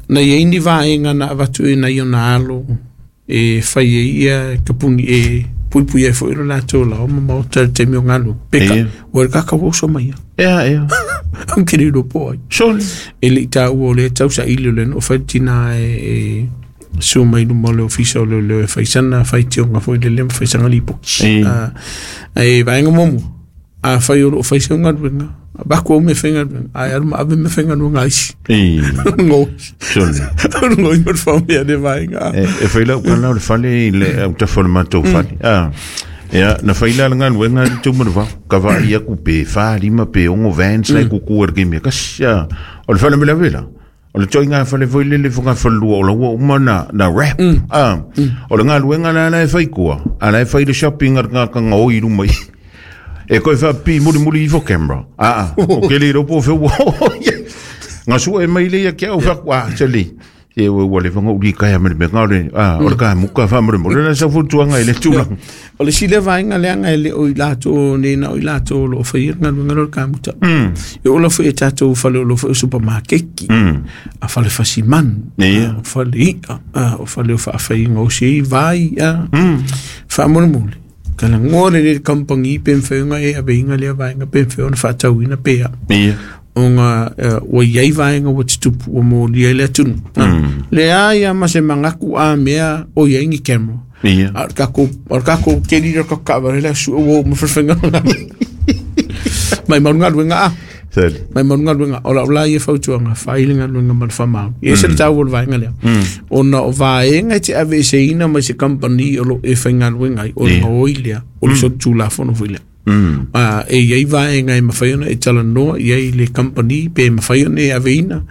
Na i ai ni vaega na avatu e nai ona alo e fai ai ia kapuni e puipui ai foi lo latou laoa ma maota i le taimi o galuega. Peka, ua le kaka ua oso mai ia. Ea, ea. Au ke le iloa po o ai. Sole. E le i taua o lea tau saili o lea na fai le tina e susu mai luma o le ofisa o leoleo e fai sana faitioga foi lele ma fai sana lipoti. E vaega muamua, afai o loo fai sau galuega, avatu au mea faigaluega, ae alu ma ave mea faigaluega a isi. Ngoi. Sole. Ngoi ma le faumea le vaega. E fai lau kala o le fale i le autafa o le matou fale. Ia, na fai la le galuega le tu mana ka vaai aku pe 4, 5 pe 6 vans lai kuku e le kemi kasi. O le fale me la vela. O le toiga fale foi lele foga falua o la ua uma na wrap. O le galuega la la e fai kua. A la e fai le shopping a ngā kanga oi luma i. E koe wha pi muri muri ifo camera. O ke le ropo fe ua. Ngā sua e mai le ia kia au wha kua, tali. E ua ua le whanga uri kai a mere me ngā ore, o le kai muka wha mere mo. Le sa futuanga i le tūlanga. O le sile vaega leaga e le o i latou nei na o i latou o lo o faia le galuega lea o le kamuta. E oo lava foi i tatou fale o lo o foi o supamakeki, a fale fasimanu, o fale i'a, o fale o faafaiga o si vai, faamolemole. Talanoa lelei le kamupani pe mafai ona e aveina lea vaega pe mafai ona faatauina pe a. Ona ua i ai vaega ua tutupu ua molia ai le atunuu. Leai lava ma se manatu a mea o i ai ni camera. A o le tatou, o le tatou keli lea o le tatou taavale la e sue ua oo mai fale faigaluega. Maumau le galuega a. Maumau le galuega. O lau la ia fautuaga, fai le galuega ma le faamaoni. E ese le taua o le vaega lea. Ona o vaega e te aveeseina mai se kamupani o lo o e faigaluega ai, o le gaoi lea, o le solitulafono foi lea. E i ai vaega e mafai ona e talanoa i ai le kamupani pe mafai ona e aveina.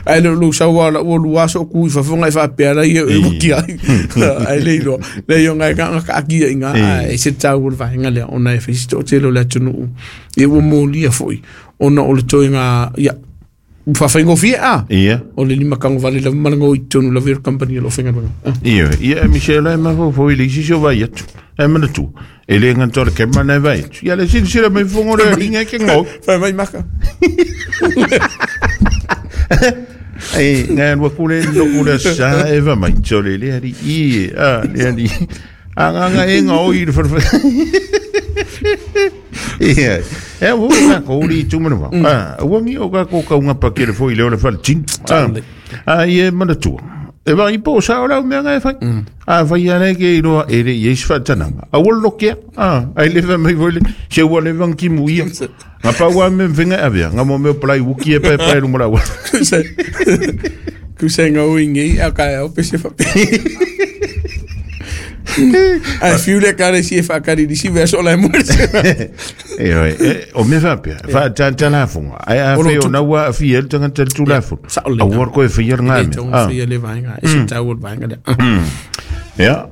Ae le o lou sau lava o lau ua lua aso o tu i fafo ona e faapea la ia e uki ai. Ae le iloa. Leai ona e na taatia i ina, ae ese le taua o le vaega lea ona e fai si toatele o le atunuu ia ua molia foi ona o le toega ia ua faafaigofie a. O le lima tagovale lava ma le gaoi i totonu lava ia o le kamupani o lo o faigaluega. Ia, ia Michelle e mafaufau i le isi si o vai atu. E manatua, e le gata o le camera na e vai atu. Ia le silasila mai fofoga o le alii e ke gaoi. Fai mai maka. E, ngai alu aku le loku le sa e va mai. So le le alii i, a, le alii. A nganga e gaoi i le whare. Ia, e ua ka ko uri tu mana wa. Ah, ua ngi o ka ko kaunga pa kere foi le o le whare tino. Ah, ia e manatua. E vai po sa o lau mea ngai whai. A whai ana ke i roa e re i eis whaatananga. A ua lokea. Ah, ai le wha mai foi le, se ua le wang ki mu ia. Nga pa ua me mwhenga avea. Nga mo meo palai wuki e pae pae runga rawa. Kusa ngā ui ngi, a kai au pese whape. Ai fiu le kare si e whakari di si verso la muerte. E oi, e, o me whapea, wha tā tā la funga. Ai a whai o naua a whia le tangata le tū la funga. A ua koe whia le ngā mea. E whia le vaenga, e se tau o le vaenga lea. Ia,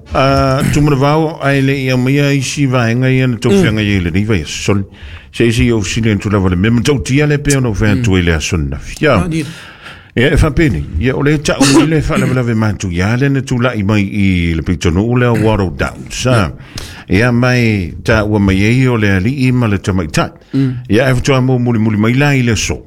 tumara vao, ai le ia maia isi vaenga ia na tau whianga ia i le riva ia soli. Se isi o sile tu lava le mea, tau tia le pea no whia tu i le aso na whia. Ia e faapeni, ia o le ta'u mai le faalavelave matuia le na tula'i mai i le pitonuu lea o Waddle Downs. Ia mai taua mai ai o le ali'i ma le tamaitai. Ia e faatoa mo mulimuli mai la i le aso.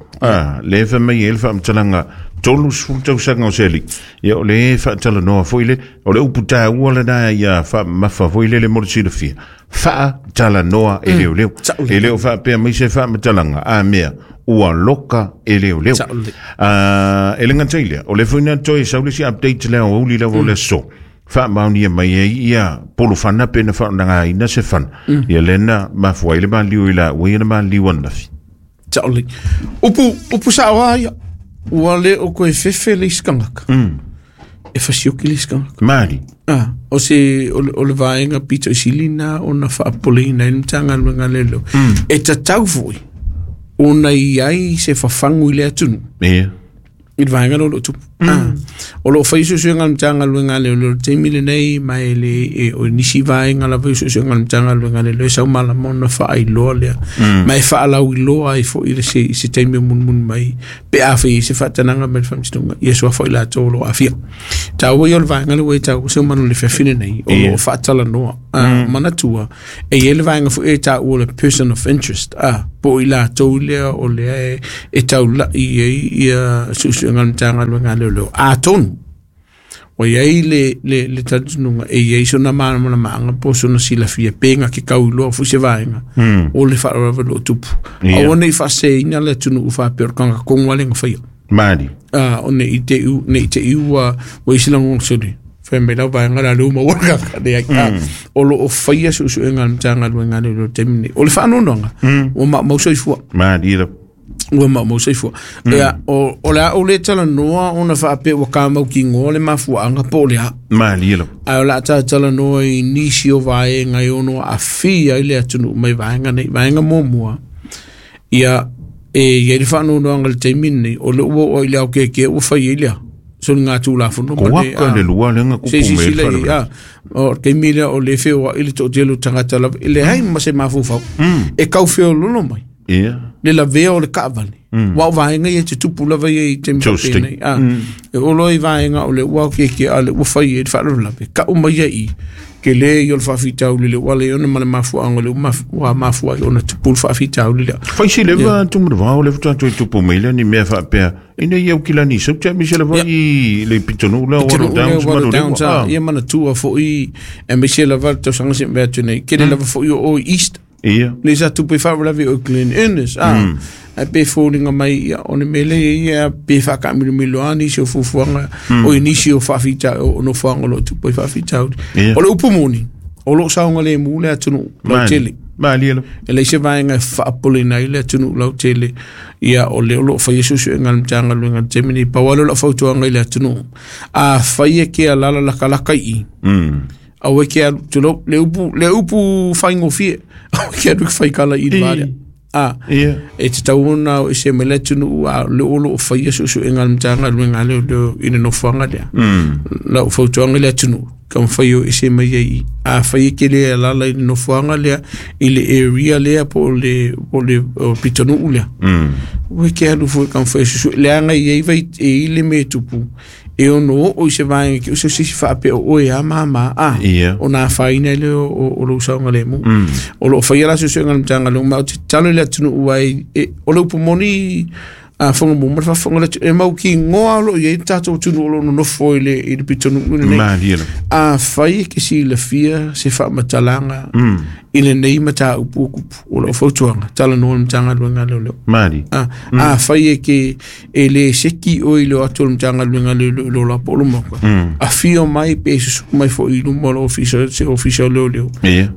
Le fai mai ai le faamatalaga 30 tausaga o se ali'i. Ia o le faatalanoa foi le, o le upu taua lena ia faamamafa foi lele mo le silafia. Faatalanoa e leoleo. E le o faapea mai se faamatalaga a mea ua loka e leoleo. E le gata i lea, o le foi na toe sau le isi update lea o auli lava o le aso. Faamaonia mai ai ia polofana pe na faaaogaina se fana. Ia lea na mafua ai le maliliu i la ua ia na maliliu ananafi. Sao lelei. Upu, upu sao lava ia. Ua le o koe fefe le isi tagata. E fasioki le isi tagata. Mali. Ah, o se o, o le vaega pito i sili na ona faapopoleina ai le Matagaluega a Leoleo. E tatau foi ona i ai se fafagu i le atunuu i le vaega lea o lo o tupu. Ah, o lo o fai suesuega a le Matagaluega a Leoleo i le taimi lenei ma e le e, o nisi vaega lava i suesuega a le Matagaluega a Leoleo e sau malama ona faailoa lea. Ma e faalauiloa ai foi le se, i se taimi o mulimuli mai pe a fai ai se faatanaga mai le faamasinoga ia suafa i latou o lo o aafia. Taua ia o le vaega lea ua e taua se manu le fiafia lenei o lo o faatalanoa. Manatua e i ai le vaega foi e taua o le person of interest. Po i latou lea o lea e taula'i ai ia suesuega a le Matagaluega a Leoleo. Atonu ua i ai le talitonuga e i ai sona malamalamaaga po o sona silafia pe na ke tau iloa foi se vaega o le faalavelave o lo o tupu. Aua ne i faaseseina le atunuu faapea o le tagata tonu lava lea na faia. Mali. O ne i te i ne i te i ua i se lagona soli. Fai mai lau vaega la lea ua maua le tagata leai. O lo o faia suesuega a le Matagaluega a Leoleo i le taimi lenei. O le faanoanoaga, ua maumau soifua. Mali lava. Ua maumau soifua. Ia, o le a ou le talanoa ona faapea ua kamautinoa le mafuaaga po o le a. Mali lava. Ae o le a talatalanoa i nisi o vaega e ono aafia ai le atunuu mai vaega nei. Vaega muamua, ia, e i ai le faanoanoaga i le taimi lenei, o lea ua oo i le aokeakea ua fai ai lea soligatulafono ma le, Ko le lua lea na tupu se mai le i ai, o le taimi lea o lea e feoai le toatele o tagata lava, e leai ma se mafaufau e tau feololo mai le lavea o le taavale. Aua o vaega ia e tutupu lava ia i taimi faapenei. E oo loa i vaega o lea ua aokeakea a o lea ua fai ai le faalavelave, tau mai ia i i, tele ia o le faafitauli lea ua ala ai ona ma le mafuaaga o lea ua mafua ai ona tupu le faafitauli lea. Fai si leva Tumanavao lea faatoa toe tupu mai lea ni mea faapea ina ia aukilani i Sauti aemaise lava i le pitonuu lea o Water Downs ma Downs, ia manatua foi aemaise lava le tausaga se mea atu nei, tele lava foi o o i East. Ia. Le sa tupu i faalavelave o Glen Innes, ae pe foliga mai ia o le mea lea ia pe faataamilomilo lava nisi o fuafuaga o i nisi o faafita o nofoaga o lo o tupu ai faafitauli. O le upu moni, o lo o saogalemu le atunuu lautele. Malie lava. E leai se vaega e faapopoleina ai le atunuu lautele, ia o lea o lo o faia suesuega a le Matagaluega i le taimi lenei. Pau lava lea o lau fautuaga i le atunuu, afai e ke alaala latalata i i, aua e ke alu, tulou, le upu, le upu faigofie, aua e ke alu e faikala i le va lea. E tatau ona o ese mai le atunuu, a o lea o lo o faia suesuega a le Matagaluega a Leoleo i le nofoaga lea. Lau fautuaga i le atunuu, taumafai o ese mai ai i. Afai e ke le alaala i le nofoaga lea, i le area lea po o le, po o le pitonuu lea, ua e ke alu foi taumafai e suesue. Leaga e i ai vai, e i ai le mea e tupu, e ono oo i se vaega ke o se sisi faapea o oe a mama a ona afaina ai lea o lou saogalemu. O lo o faia la suesuega a le Matagaluega, ma ou te tatalo i le atunuu ai, o le upu moni a fonga mo ma le faafofoga le atunuu, e mautinoa o lo o i ai le tatou atunuu o lo o nonofo i le pitonuu lenei. Malie lava. Afai e ke silafia se faamatalaga i lenei mataupu o tupu, o lau fautuaga, talanoa i le Matagaluega a Leoleo. Malie. Afai e ke e le seki oe i le o atu o le Matagaluega a Leoleo i lou la po o le maoka, afio mai pe susu mai foi i luma o le ofisa, se ofisa o Leoleo,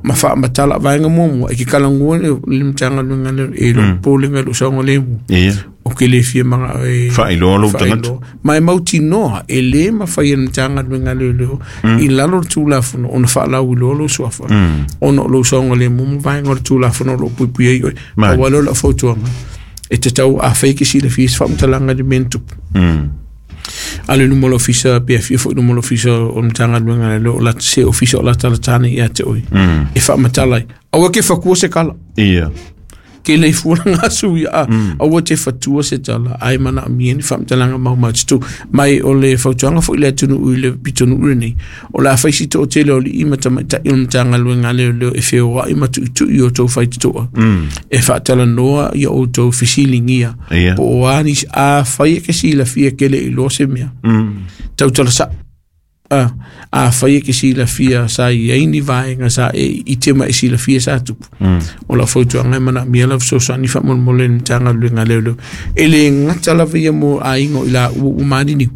ma faamatala vaega muamua, e ke talanoa le Matagaluega a Leoleo, e lou popolega i lou saogalemu. O ke le fia manga e faailoa lou tagata. Ma e mautinoa, e le mafai e le Matagaluega a Leoleo i lalo o le Tulafono ona faalauiloa lou suafa, ona o lou saogalemu ma vaega o le Tulafono o lo o puipui ai oe. Pau lava lea o lau fautuaga, e tatau afai ke silafia se faamatalaga i le mea na tupu. Alu i luma o le ofisa, pe afio foi i luma o le ofisa o le Matagaluega a Leoleo, o la, se ofisa o latalata nei ia te oe, e faamatala ai. Aua ke fatua se tala. Ke le fua la ngasu ia a. Aua te fatua se tala, ai manaomia ni faamatalaga maumaututu. Mai o le fautuaga foi le atunuu i le pitonuu lenei, o le a fai si toatele o alii ma tamaitai o le Matagaluega a Leoleo e feoai ma tuitui o outou faitotoa, e faatalanoa ia outou fesiligia, po o a nisi, afai e ke silafia ke le iloa se mea, tautala sao. Afai e ke silafia sa i ai ni vaega sa e ite ma e silafia sa tupu, o lau fautuaga e manaomia lau fesoasoani faamolemole i le Matagaluega a Leoleo. E le gata lava ia mo aiga o i laua ua maliliu,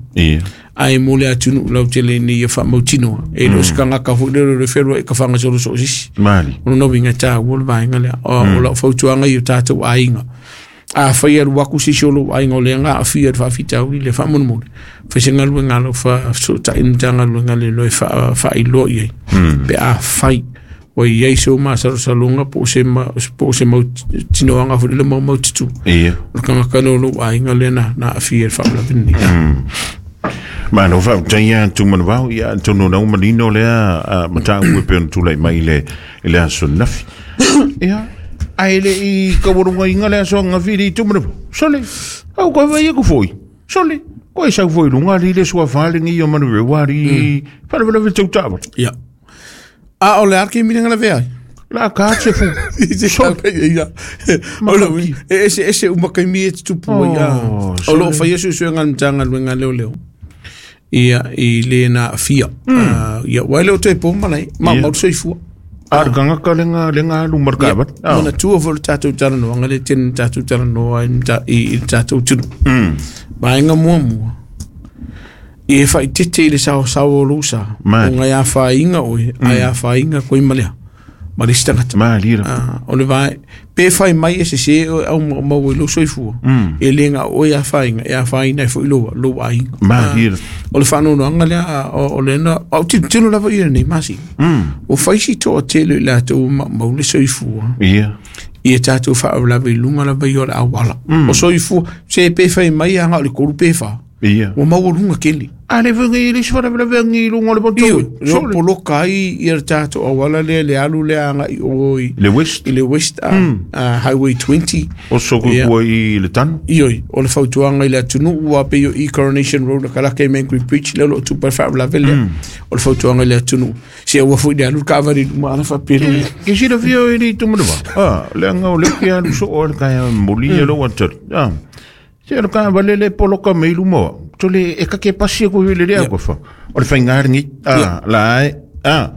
ae mo le atunuu lautele ina ia faamautinoa. E le o se tagata foi lea o le fealuai ka faagasolo soo sisi. Mali. O lona uiga e taua le vaega lea. O lau fautuaga i o tatou aiga, afai e alu atu se isi o lou aiga o lea na aafia i le faafitauli lea, faamolemole, fai se galuega a lau faafesootai i le Matagaluega a Leoleo e faailoa i ai, pe afai ua i ai se masalosaloga po o se mautinoaga foi lea maumaututu o le tagata lea o lou aiga lea na aafia i le faalavelave lenei. Malo faafetai ia Tumanavao, ia atonu o lea ua manino lea mataupu e pei ona tulai mai i le aso ananafi. Ia, ae le i taualugaina le aso ananafi i le Tumanavao, sole, au koe vai aku foi, sole, koe sau foi i luga ali le suafa lenei o Manurewa ali, faalavelave tau taavale. Ia. A o le a le taimi lea na lavea ai? La ka te fu. Ia. O lo e ese ese uma kaimi e tupu ia. O lo whai suesuega a le Matagaluega a Leoleo. Ia i le na aafia. Ia ua e le o toe po malae. Maumau le soifua. A le tagata le ga alu ma le taavale. Manatua foi le tatou talanoaga le tele na tatou talanoa i le tatou atunuu. Vaega muamua, ia e faaeteete i le saosaoa o lou sa, ona e afaina oe, ae afaina koe ma le a? Ma le isi tagata. Malie lava. O le vae, pe fai mai e sese oe au maumau ai lou soifua, e le na o oe e afaina, e afaina ai foi lou, lou aiga. Malie lava. O le faanoanoaga lea, o lea na, au tilotilo lava i lenei masina. Ua fai si toatele o i latou ua maumau le soifua. Ia. Ia tatou faalavelave i luga lava ia o le auala. O soifua, se pe fai mai lava na o le 3 pe 4. Ia. Ua maualuga tele. A le foi nei le isi faalavelave agi i luga o le motor. Io, le poloka ai ia le tatou auala lea le alu lea agai i o i le West, i le West Highway 20. O soko kua i le tanu. Ioe, o le fautuaga i le atunuu aua pei o i Coronation Road a kalaka i Mangere Bridge lea o lo o tupu ai le faalavelave lea. O le fautuaga i le atunuu, se aua foi le alu le taavale i luma ala faapea le Ke silafia oe i le itu manava? Ah, leaga o lea ou te alu soo ai le taeao e momoli ia lou atali. Ah, Se o le taavale le poloka mai luma o au. Tole e kake pasi aku i le lea ko fa. O le whainga lengi. Ah, la e. Ah,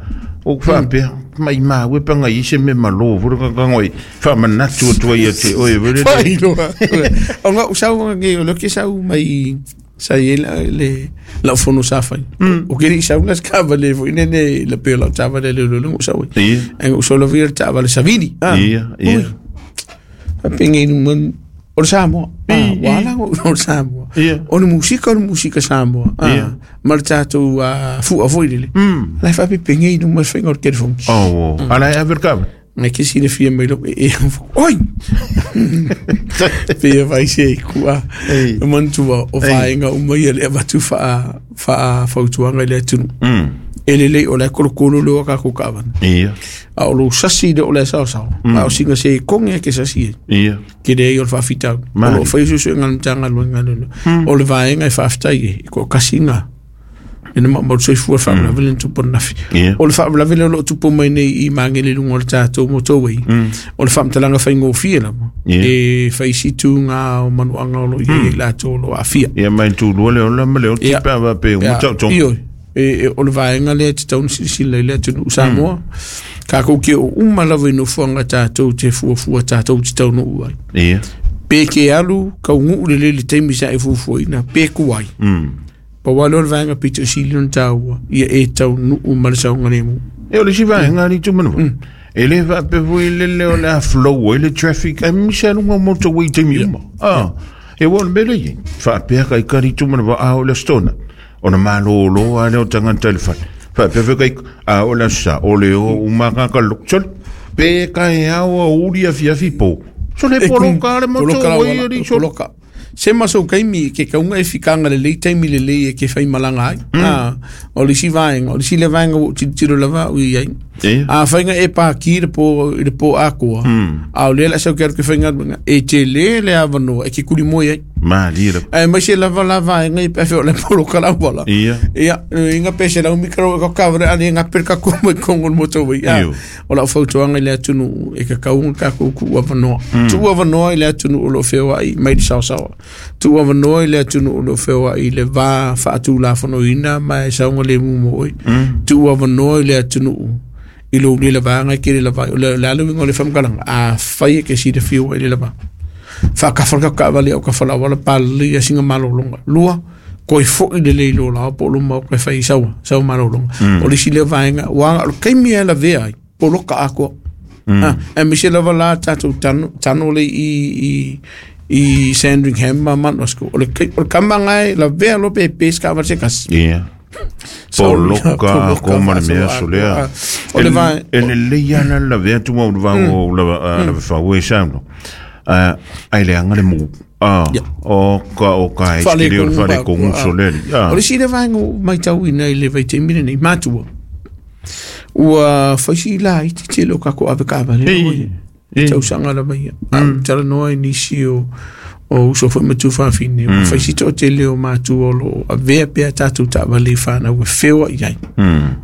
o whaapea. Mai māu e panga i se me malo. Vura ka kangoi. Wha manatu atua ia te oe. Vere le. Whailoa. O ngau sau nge o le ke sau mai sa i le le lau fono sa fai. O ke ri sau las taavale foi nene le pe lau taavale le le le sau. Ia. Ai o solo vi le taavale Savini. Ia, ia. Faapea nui o le Samoa. Ua ala o le Samoa. O le musika o le musika Samoa. Ma le tatou fua foi lele. La e faapepegei i luma le faiga o le telefoni. Oh, ala e ave le kava. Ngai ke silafia mai lou ee. Oi! Pei e vai se kua. E manatua o vaega uma ia le avatu faa faafautuaga i le atunuu. E lelei o la e kolokolo le o a kākou kaavana. Ia. A o lou sasi lea o le saosaoa. A o sina se koge e ke sasi ai. Ia. Ke leai o le faafitauli. O lo o faia suesuega a le Matagaluega a Leoleo. O le vaega e faafetai ai, e toatasi lena ina maumau le soifua i le faalavelave lea na tupu ananafi. Ia. O le faalavelave lea o lo o tupu mai nei i Magele i luga o le tatou motorway, o le faamatalaga faigofie lava, Ia. e fai si tuga o manuaga o lo o i ai i latou o lo o aafia. Ia mai tulua le ola ma le oti Ia. pe a pe uma tau tonga. Ioe, o le vaega lea e tatau ona silasila i le atunuu Samoa. Kākou ke o uma lava i nofoaga tatou te fuafua tatou te taunuu ai. Ia. Pe ke alu kaunuu lelei i le taimi sa e fuafuaina, pe tuai. Pau lava lea o le vaega pito sili ona taua, ia e taunuu ma le saogalemu. E o le isi vaega alii Tumanava. E le faapea foi le leo o le a flow ai le traffic aemaise lava luga o motorway i taimi uma. Ah, e ua o le mea lea e i ai. Faapea ka ika alii Tumanava a o le Aso Toonai. Ona malolo lava lea o tagata i le fale. Faapea foi ka ika, a o le Aso Sa, o le o uma lava tagata loku. Sole, pe taeao, aoauli, afiafi, po. Sole, e poloka lava le motorway alii sole. Poloka. Se ma sou taimi ke kauga e fikanga lelei taimi lelei e ke faimalaga ai. O le isi vaega, o le isi lea vaega ua ou tilotilo lava au i ai. Ia. Afai na e paki i le po, i le po atoa, a o lea o le a sau ke alu ke faigaluega, e tele le avanoa e ke kulimoe ai. Malie lava. Aemaise lava la vaega i pe afai o le poloka le auala. Ia. Ia, inga pe 100 mita e ka kavare ale nga pe ka koma i kongo le motorway. Ia, Io. o lau fautuaga i le atunuu e kakau ona tatou tuu avanoa. Tuu avanoa i le atunuu o lo o feoai mai le saosaoa. Tuu avanoa i le atunuu o lo o feoai i le va faatulafonoina ma e saogalemu mo oe. Tuu avanoa i le atunuu i lou le lavaga e ke le lava ai. O le a le uiga o le faamatalaga, afai e ke silafia ua e le lava. Faakafa le taavale au kafa la palelei ia singa malologa. Lua, koe foi lelei i lō lao po o lou maoka e fai i saua, saua malologa. O le isi lea vaega, ua o le taimi e lavea ai, poloka atoa. Aemaise lava la tatou tano, tano le i i Sandringham ma Mount Roskill. O le o le kama ngai lavea lo pe pe se taavale se tasi. Ia. Poloka atoa ma le mea aso lea. O le vae- E lelei lava la lavea atu au le vao o lava fau e saunoa. Ai leaga le mu. Ah, o ka o ka e skili o le faaletonu uso lea alii. O le isi lea vaega ua ou matauina i le vaitaimi lenei, matua, ua fai si laiti tele o tatou avetaavale i tausaga lava ia. A ou talanoa i nisi o o uso foi ma tuafafine, ua fai si toatele o matua o lo o avea pea tatou taavale i fanau e feoai ai.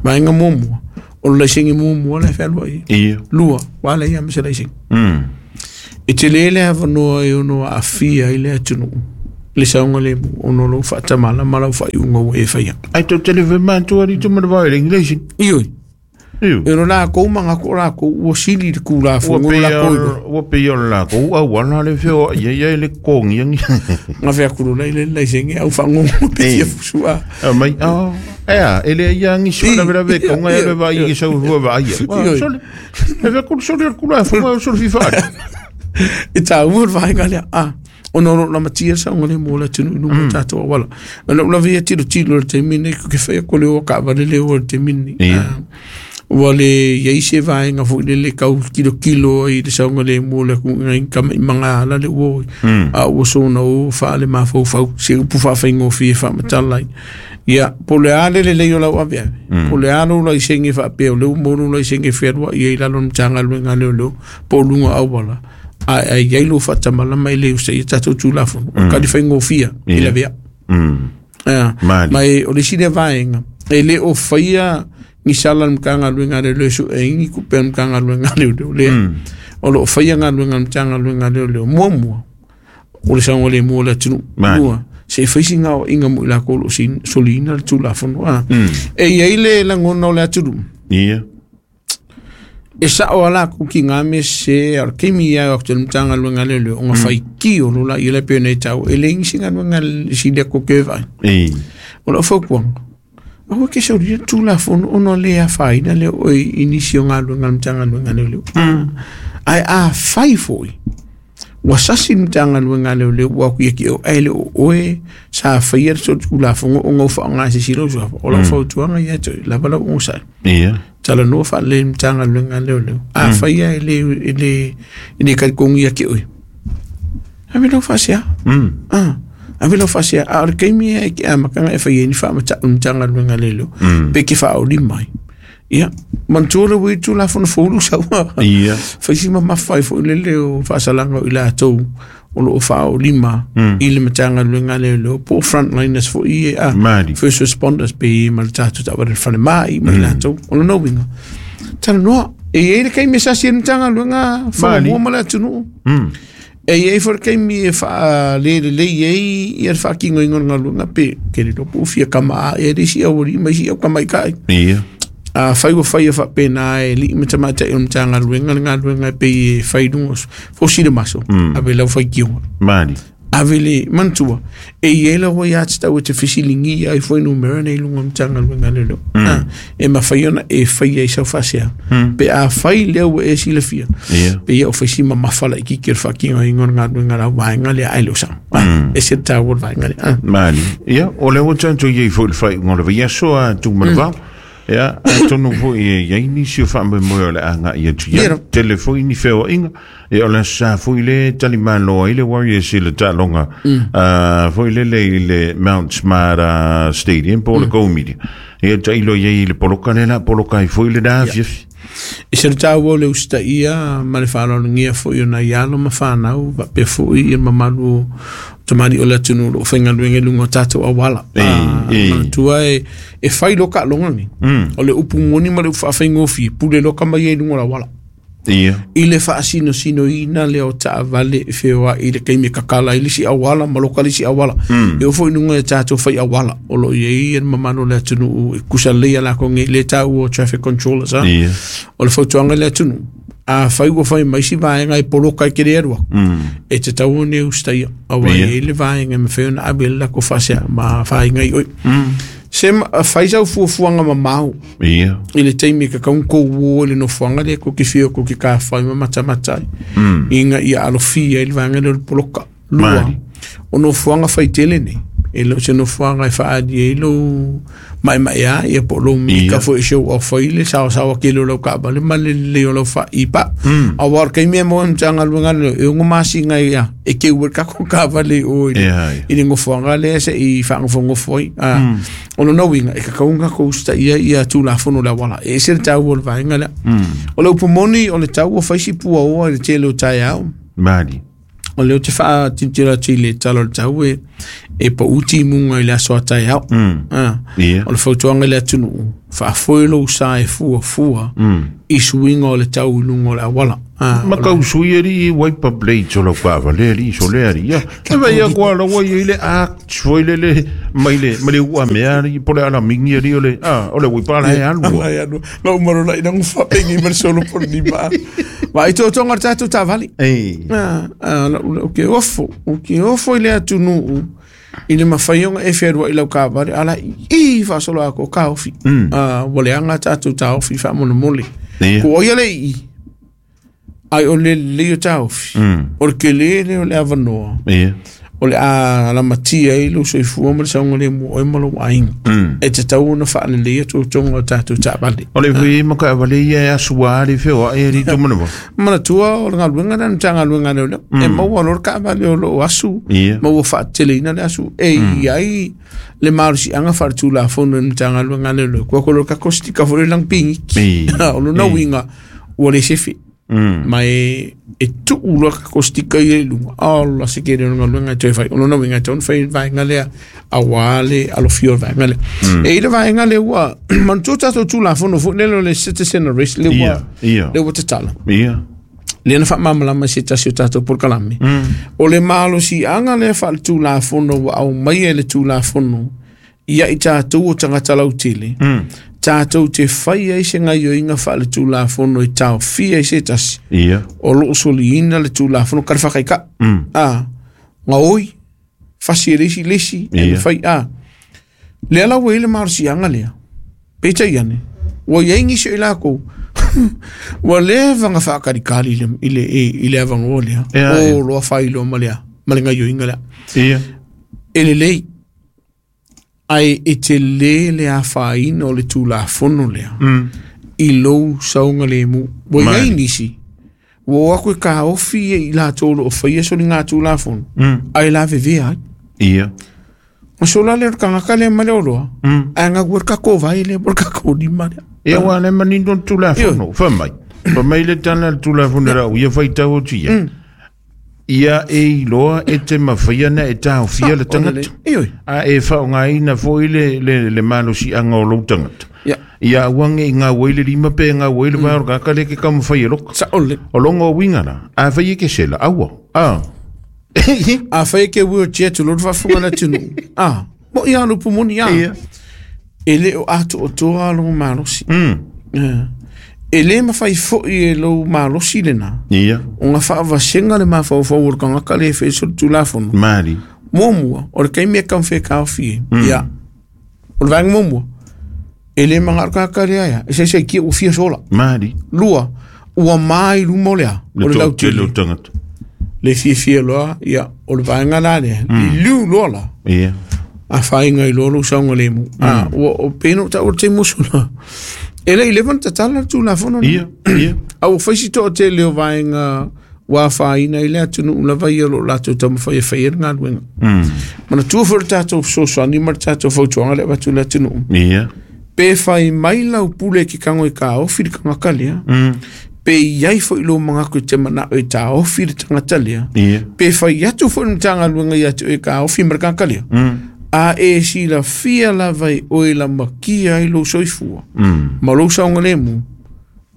Vaega muamua, O le laisene muamua la e fealuai ai. Ia. Lua, ua leai lava ma se laisene. E tele le avanoa e ono aafia ai le atunuu i le saogalemu ona o lou faatamala ma lau faaiuga ua e faia. Ai tou te le fai matua alii Tumanavao e leai ni laisene. Ioe. Ioe. E ono lakou manatu o lakou ua sili i le Tulafono Ua o lakou iloa. Ua pei o le lakou auala le feoai ai ai le totogia ni. Gafe atu loa i le laisene au faagogo pe fia fusu a. Aumai, oh, ea, e leai lava nisi faalavelave e taunga e alu e vaai i sau lua vaai ai. Ioe. Sole, e fai atu le sole o le Tulafono ae o sole fifa ali. E taua le vaega lea. Ah, ona o lo o lamatia le saogalemu o le atunuu i luga o tatou auala. O lau lava ia tilotilo i le taimi lenei, ou te fai atu o le o a taavale le o i le taimi lenei. Ia. Ah, ua le i ai se vaega foi lele tau tilotilo ai i le saogalemu o le atunuu nai tamaimaga ala le ua o ai. A ua soona o faale-mafaufau se upu faafaigofie e faamatala ai. Ia, po o le a le lelei o lau aveave, po o le a lou laisene faapea o lea ua maua lou laisene fealuai ai i lalo o le Matagaluega a Leoleo po o luga o auala, ae a i ai lou faatamalama e le usitaia tatou Tulafono, o le tali faigofie e lavea. Mali. Ma e, o le isi lea vaega, e le o faia ni sala a le Matagaluega a Leoleo e sue ai ni tupe a le Matagaluega a Leoleo lea. O lo o faia galuega a le Matagaluega a Leoleo. Muamua, o le saogalemu o le atunuu. Mali. Lua, se i fai sina aoaiga mo i lakou o lo o soliina le Tulafono. E i ai le lagona o le atunuu. Ia. E sao a lakou ki ngā mea sese, a o le taimi ia e o atu i le Matagaluega a Leoleo, ona faitio loa laia lea pei ona e taua, e leai nisi galuega e sili atu ke vaai. O lau fautuaga, aua e te solia le Tulafono ona le afaina lea o oe i nisi o galuega a le Matagaluega a Leoleo. Ae afai foi ua sasi le Matagaluega a Leoleo ua atu ia te oe, ae le o oe sa faia le Tulafono ona ua faaaoga e se isi lou suafa, o lau fautuaga ia te oe, lava lau onosai. Ia. Talanoa faalelei i le Matagaluega a Leoleo. Afai lava e le, e le, e le talitonu ia te oe, ave lau faasea. Ah, ave lau faasea. A o le taimi e te amataga e fai ai ni faamatau i le Matagaluega a Leoleo, pe te faaoli mai. Ia, manatua le ua i le Tulafono fou lou sau. Ia. Fai si mamafa ai foi lele o faasalaga o i latou o lo o faaolima i le Matagaluega a Leoleo po o frontliners foi ia, a Mali. first responders pe ma le tatou taavale falemai ma i latou. O lona uiga, talanoa, e i ai le taimi e sasi ai le Matagaluega Falomua ma le atunuu. E i ai foi le taimi e faalelelei ai ia le faatinoina o le galuega pe ke le iloa po o fia kama ae ai le isi aualii ma isi au tamaitai. Ia. A fai ua fai e faapena e alii ma tamaitai o le Matagaluega le galuega e pei e fai i luga o fosi le maso, ave lau faitioga. Mali. Ave le manatua, e i ai lau aiatatau e te fesiligia ai fuainumera nei i luga o le Matagaluega a Leoleo. E mafai ona e faia i sau faasea. Pe a fai lea ua e silafia, Ia. pe ia o fai si mamafa laitiiti o le faatinoina o le galuega a lau vaega lea ae le o sao. E ese le taua o le vaega lea. Mali. Ia, o lea ua tatou i ai foi i le faaiuga o le vaiaso a Tumanavao. Ia, atonu foi e i ai nisi o faamoemoe o le a agai atu i ai. Ia. Tele foi ni feoaiga. Ia, o le aso sa foi le talimalo ai le Warriors i le taaloga foi lele i le Mount Smart Stadium po o le Go Media. Ia, tailo i ai i le poloka lea la poloka ai foi le na afiafi. E se le taua o le usitaia ma le faaaloalogia foi o nai alo ma fanau faapea foi ia mamalu o tamalii o le atunuu o lo o faigaluega i luga o tatou auala. Manatua e fai loa taaloga nei. O le upu moni ma le upu faafaigofie, pule loa tama ia i luga o le auala. Ia. I le faasinosinoina lea o taavale e feoai i le taimi e kakala ai le isi auala ma loka le isi auala. E oo foi i luga i tatou fai auala o lo o i ai le mamalu o le atunuu e kusa lelei a latou nei le taua o traffic controllers. Ia. O le fautuaga i le atunuu, afai ua fai mai si vaega e poloka e te le alu atu, e tatau ona e usitaia, aua e Ia. i ai le vaega e mafai ona ave ai le latou faasea ma afaina i oe. Se fai sau fuafuaga mamao Ia. i le taimi e tatau ona tou o i le nofoaga lea tou te fia tou te tafai ma matamata ai, ina ia alofia ai le vaega lea o le poloka. Lua, Mali. o nofoaga faitele nei, e le o se nofoaga e faaali ai lou maemaea ia po o lou mika Ia. foi e show off ai le saosaoa tele o lau taavale ma le lelei o lau faaipa. Aua o le taimi e maua ai le Matagaluega lea, e ono masina ia e keu ai le tatou taavale i o i le Ia, ia. i le nofoaga lea se i faanofonofo ai. O lona uiga, e tatau ona tatou usitaia ia Tulafono o le auala. E ese le taua o le vaega lea. O le upu moni, o le taua fai si puaoa i le tele o taeao. Mali. O leo te wha tintira ti le talo le tau e pa uti munga i le aso atai au. O le fautuanga le atunu, whaafoelo sa e fua fua, i suinga o le tau lunga o le awala. Ma kau sui ari i wiper blades o lau kava le ari so le ari. E vai a kua lawa i le a foi le le mai le mai le ua mea ari po le ala mingi ari o le o le wipa la e alu. La umaro la ina ngufa pengi ma solo por ni ma. Ma i tō tonga tātou tāvali. O ke ofo i le atunu i le mawhaionga e wherua i lau kāvali ala i whasolo ako ka ofi. Wa le anga tātou tā ofi wha mona mole. Ko oia le i ai o le leo tāofi. O le ke le o le avanoa. O le a la matia i lo soifua ma le saunga le mua oe ma lo ainga. E te tau ona whaale lea tō tonga o tātou tāvali. O le hui maka awale ia e asua le whioa e ri tō manawa. Mana tua o le ngaluenga na tā ngaluenga leo leo. E maua lor ka awale o lo asu. Maua whaatele ina le asu. E iai le marusi anga whaatu la whono na tā ngaluenga leo leo. Kua kolo ka kosti ka fore lang pingi. O lo na winga ua le sefi. Ma e tu'u loa ka kostika i e lunga ala se kere o ngaluenga e toe whai o lona winga e tōna whai vaenga lea a wā le alofio o vaenga lea e i le vaenga lea ua manu tō tātou tū la fono fo lelo le citizen arrest le ua le ua tatala le na whaamamalama se tasi o tātou polokalame o le malosi anga lea wha le tū la fono ua au mai e le tū la fono ia i tātou o tangata lautele tātou te whai ai se ngai o inga wha le tūlafono i tau fia i se tasi. O loo soli ina le tūlafono kare whakai ka. Ngā oi, whasi e lesi lesi, e me whai a. Lea lau e le marusi anga lea. Peta iane. Ua iai ngisi o i lākou. Ua lea wanga whakarikari i le avangoa lea. O loa whai loa ma lea. Ma le ngai o inga lea. E le lei. Ai e te le le a whaina o le tūlafono lea. I lou saunga le mu. Wa iai nisi. Wa o aku e ka ofi e i la tōlo o whaia so ni ngā tūlafono. Ai la vevea ai. Ma so la le kangaka le ma le oloa. Ai ngā kua kako vai le por kako ni ma lea. Ia wa le manino tūlafono. Whamai. Whamai le tana le tūlafono rau. Ia whaitau o tia. Ia e iloa e te mawhaia na e tāwhia le tangata. A e whaongaina fo i le malosi anga o lou tangata. Ia uange i ngā waile lima pe ngā waile vai o kaka le ke kamawhai e loka. O longo o wingana. A whai e ke sela. Aua. A whai e ke wheelchair tu lotu whafunga na tunu. Mo ia anu pumoni ia. E le o atu o toa lo malosi. E le mawhai foi e lou malosi le nā. O ngā whaavasenga le mawhauwhau o le kangaka le whae tūlafono. Mari. Mōmua, o le kaimea kamwhea kāwhi e. Ia. O le vaenga mōmua. E le manga kaka lea ia. E se kia o fia sola. Mari. Lua, ua mai lumo lea. O le lau tele. Le fia fia loa, ia. O le vaenga la lea. I liu loa la. A whainga i loa lou saunga le mu. O peno ta o te musula. E le i lewan tatala tūlafono. A o whaisi toa te leo vaenga wā whaina i le atunu ulawa ia lo lātou tamawhai e whai e ngā luenga. Mana tua fora tātou sosoani ma tātou fautuanga le watu le atunu. Pe whai mai lau pule ki kango i ka ofi le kangaka lea. Pe iai fo i lo mangako i te mana o i tā ofi le tangata lea. Pe whai atu fo i mtanga luenga i atu i ka ofi ma kangaka lea. A e si la fia la vai o e la makia i lo soifua. Ma lo saunga le mu,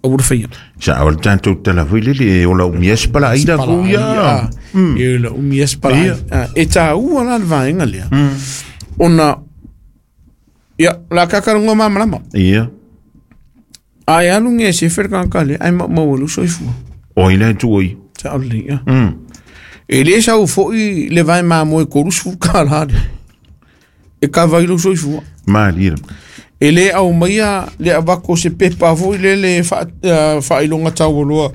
a ura whaia. Sa awal tātou tala hui lele e o la umias pala aida kuia. E o la umias pala aida. E tā ua la vaenga lea. Ona, ia, la kakarunga mamalama. Ai alu nge se wherkangka lea, ai maua lo soifua. O ina tuoi. Sa ole, ia. E le sau foi le vai mamoe korusu ka la lea. E ka vai lo soifua. Mali. E le au maia le avako se pepa foi le le whailonga tau loa.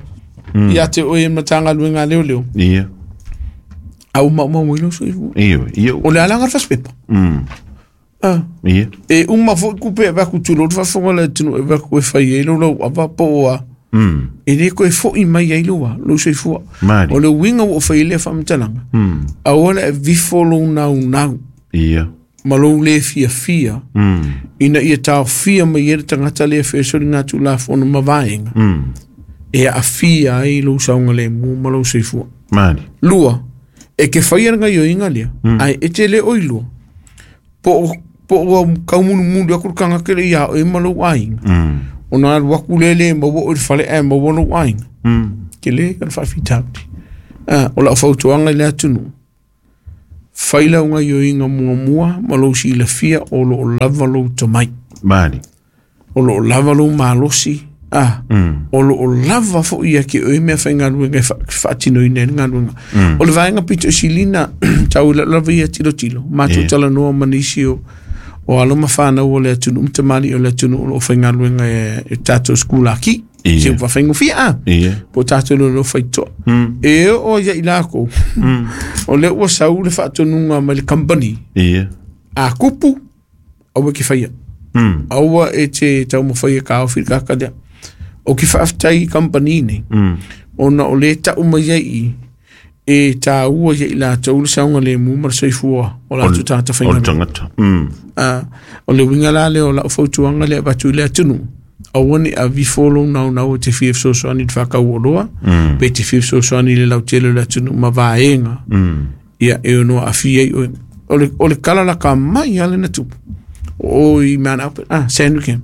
Ia te oe matanga luenga leo leo. Au mau ilo soifua. O le alanga fas pepa. E uma foi kupe vaku tulo fafonga le tunu e vaku e whai e lo lau ava poa. E le koe foi mai ai loa lo soifua. O le winga o whai le whamtalanga. A ola e vifo lo nau nau. Ma lou le fia fia. Ina ia tau fia mai e tangata le whaesori ngā tūlafono ma vaenga. E a fia ai lou saunga le mu ma lou soifua. Mari. Lua, E ke whaia nga ioinga lea, ai e te le oiloa, po o kaumulimuli aku le kanga kele ia o e malau ainga. O nā waku lele maua o le whale e maua lau ainga. Ke le ka whawhitauri. O lau fautuanga i le atunu. Whaila unga ioinga mua mua, ma lou si lafia o lo lava lou tomai. Mani. O lo lava lou malosi. O lo lava fo ia ke oe mea whaingaluenga e whaatino i nei ngaluenga. O le vaenga pito silina, tau lava ia tilo tilo. Mātou tala noa manisi o aloma whanau o le atunu, mtamali o le atunu o lo whaingaluenga e tātou skula ki. Se upa whaingofia a. Po tātou lo whaitoa. E o ia i lako. O le ua sau le whaatonunga mai le company. A kupu, aua ki whaia. Aua e te taumawhaia ka au whirika karea. O ki whaaftai company nei. Ona o le tau mai ai e tā ua ia i lātou le saunga le mu mara soifua o lātou tāta whainga. O tangata. O le winga la le o lau fautuanga le abatu le atunu. Aua ni a vifolo nau nau te whia fesoasoani te whakau o loa. Pe te whia fesoasoani le lautele le atunu ma vaenga. Ia e ono a whia i oe. O le kalalaka mai ale na tupu. O i Mount Albert. Sandringham.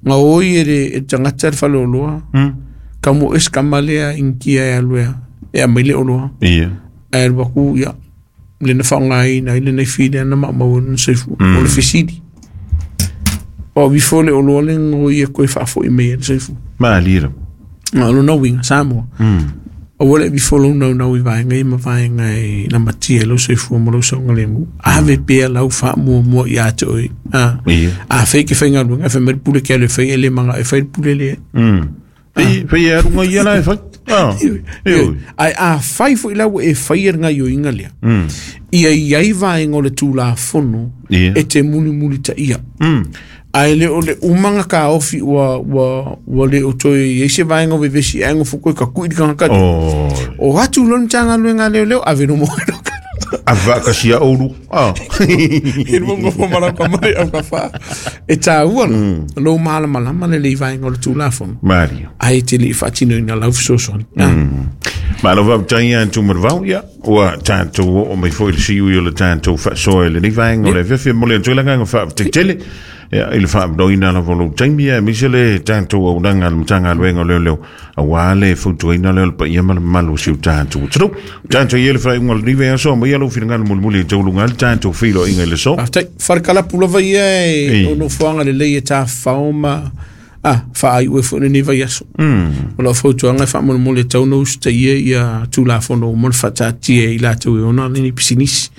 Ngā oi e le tangata le whale o loa. Ka mo es ka malea inkia e aluea. E a maile o loa. E waku ia. Le na whaongai na ile nei while ana maamau na seifu. O le fisidi. O vifole o loa le ngoi e koe whaafo i mea le seifu. Maa lira. Ngā lo nau winga, Samoa. O wale vifolo nau nau i vaenga i ma vaenga i la matia lau seifu mo lau saunga le mu. Ave pea lau wha mua mua i ate oi. A whai ke whainga luenga, whai mere pule kia le whai ele manga e whai pule le. Whai e arunga ia la e whai. Ai a whai fo i lau e whai e ngā ioinga lea. Ia i ai vaenga o le tūla fono e te muli muli ta ia. Ai le o le umanga ka ofi ua le o toi i se vaenga o vevesi aingo fukoi ka kui kanga kati. O atu lon tanga luenga leo leo ave no moe no kano. A vakasia oru. E mongo fo maraka mai au ka wha. E tā ua lo malama lama le lei vaenga o le tūlafono. Mario. Ai te li whaatino ina lau fesoasoani. Ma lo vau taia tumarvau ia ua tātou o mai foi le siu i o le tātou whaasoa le nei vaenga o le whiwhi mole antu ilanga ngā wha tele. Ia i le whaamnoina la volo taimi e mise le tātou au nanga le matanga luenga leo leo a wā le fautuaina leo le paia ma le malu siu tātou. Tadu, tātou i ele whae unga le nive aso, mai alo whiringa le mulimuli i taulunga le tātou whilo inga i le so. Aftai, wharekalapu lava ia e ono fuanga le lei e tā whaoma whaai ue fo ni vai aso. O lau fautuanga e whaamolemole e tau nou sta ia ia tūlafono mo le whatatia i lātou e ona ni pisinisi.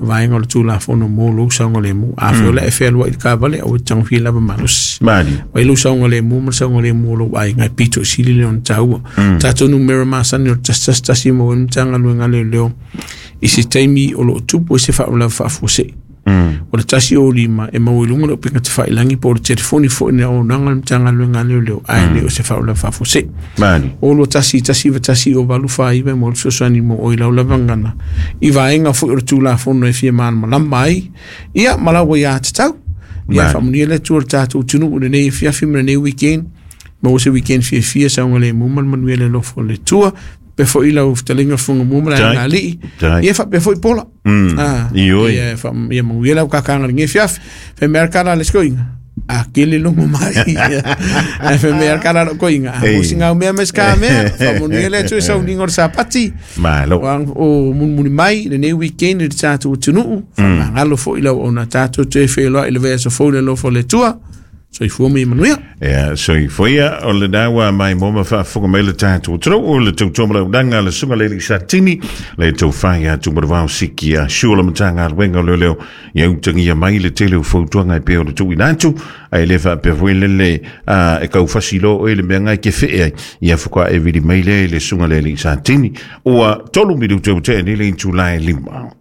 Vaenga o le tūlafono mo lou saunga le mu. A whio le e whealua i le kāwale au e tangwhia lava malosi. Wai lou saunga le mu ma le saunga le mu o lou ai ngai pito sili le ona tāua. Tātou nu mera masani o tas tas tasi mo e mtanga luenga le leo. I se taimi o loo tupu e se whaola whaafuase. O le tasi o lima e mau i lunga le upinga te whailangi po o le telefoni fo ina o nanga le mtanga luenga leo leo ai le o se whaola whaafose. O lo tasi tasi wa tasi o valu whaiwe mo le fesoasoani mo o i lau lavangana. I vaenga fo o le tūlafono e fia mana malama ai. Ia malawa ia te tau. Ia whamunia le tua le tātou tunu o le nei fiafi ma le nei weekend. Ma o se weekend fia fia saunga le mumal manuia le lofo le tua. Pe fo ila o fitalinga funga mumala ngā lii. Ia fa pe fo i pola. Ia fa ia manguia lau kakanga nge fiafi. Fe mea kala le skoinga. A kele longo mai. A fe mea kala lo koinga. A mo singa mea mes ka mea. Fa manuia le tua sau ningo sapati. Malo. O munmuni mai le nei weekend le tātou tunuu. Fa mangalo fo ila o na tātou te wheloa i le vea so fo le lofo le tua. Soifua mai manuia. Ia, soifua o le naua mai moma whaafunga mai le tātou tau o le tautoa lau nanga le sunga le satini le tau whai a tumaravau siki a shua le matanga alwenga leo leo ia utangia mai le tele o fautuanga e peo le tui nātu ai le whaapea lele e kau fasilo o ele mea ngai ke whea ai ia fuka e vili mai le le sunga le satini o a tolu miru te ute ni le intu lai lima.